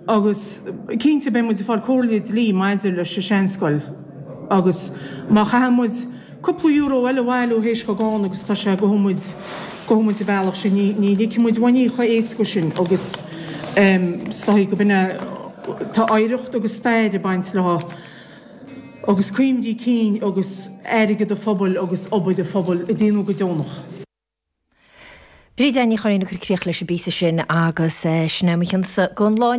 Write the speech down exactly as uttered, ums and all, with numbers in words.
Agus cinnte beidh muid ag fáil comhairle dlí maidir leis an seanscoil agus má chaitheann muid cúpla euro eile a bhailiú théis chomh agus tá sé gabhfaidh muid gabhfaidh muid an bealach sin ní ní ligfidh muid uainn í chomh éasca sin agus is dóigh go b'in tá oidhreacht agus stair ag baint leo agus cuimhní cinn agus airgead an phobail agus obair an phobail a déanamh go deonach. Bríd Ní Churraoin ag cur críoch leis an bpíosa sin agus sin é mo chionsa don lá.